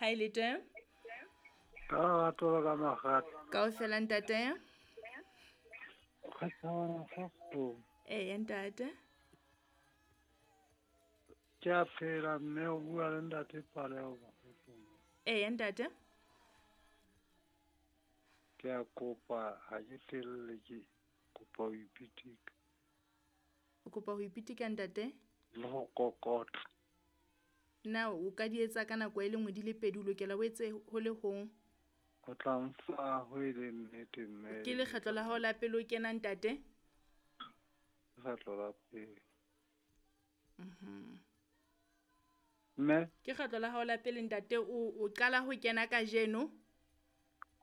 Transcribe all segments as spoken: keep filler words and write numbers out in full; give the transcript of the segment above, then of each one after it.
Ha e le teng? Ka lerato la ka makgata. Kaofela ntate. Kgathabana kgafo. Eya ntate. Ke a phela mme o bua le ntate Paleo. Eya ntate. Ke a kopa ha ke telle ke kopa ho ipitika. O kopa ho ipitika ntate? Le ho kokota. Na o ka di etsa ka nako e le nngwe di le pedi, o lokela o etse ho le hong? O tla mfa ho e le nnete mme. Ke lekgetlo la hao la pele o kena ntate? Lekgetlo la pele. Mhm. Mme? Ke kgetlo la hao la pele ntate, o o qala ho kena kajeno?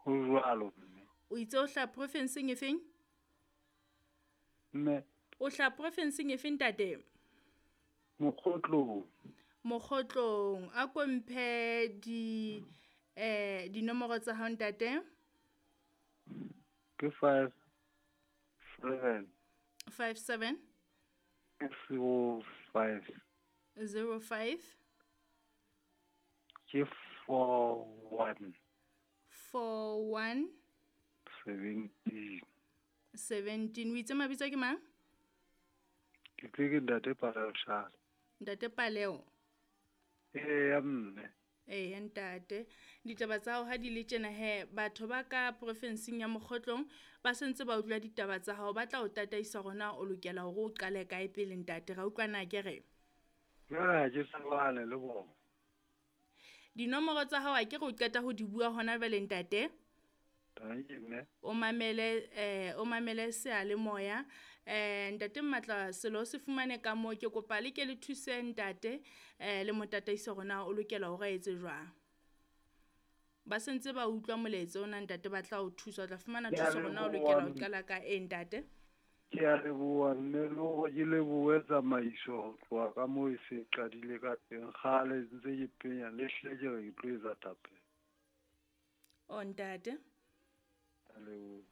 Ho jwalo mme. O itse o hlaha profinseng e feng? Mme? O hlaha profinseng e feng ntate? Mokgotlong. Mokgotlong. A ko mphe di eh dinomoro tsa hao ntate. Ke five seven. Five seven. Zero five. Zero five. Ke four one. Four one. Seventeen. Seventeen. O itse mabitso ke mang? Ke tle ke ntate Paleo Shala. Ntate Paleo. Eya mme. Eya ntate. Ditaba tsa hao ha di le tjena he, batho ba ka profinseng ya Mokgotlong ba sentse ba utlwa ditaba tsa hao, ba tla o tataisa hore na o lokela hore o qale kae pele ntate. Ra utlwa na ke re? Jwale ha ke tsebane le bona. Dinomoro tsa hao a ke re o qeta ho di bua hona jwale ntate? Tanki mme. O mamele eh o mamele seyalemoya. Eh ntate Mmatla selo se fumane ka moo, ke kopa le ke le thuse ntate eh le mo tataise hore na o lokela hore a etse jwang. Ba sentse ba utlwa molaetsa ona ntate, ba tla o thusa, o tla fumana Ke a thuso hore na o leboha lokela ho mme. qala ka eng ntate. Ke a leboha mme, le hore ke lebohe tsamaiso ho tloha ka moo e se e qadile ka teng. Kgale ntse ke penya le hle ke re ke tlo etsa thapelo. O ntate. A leboha.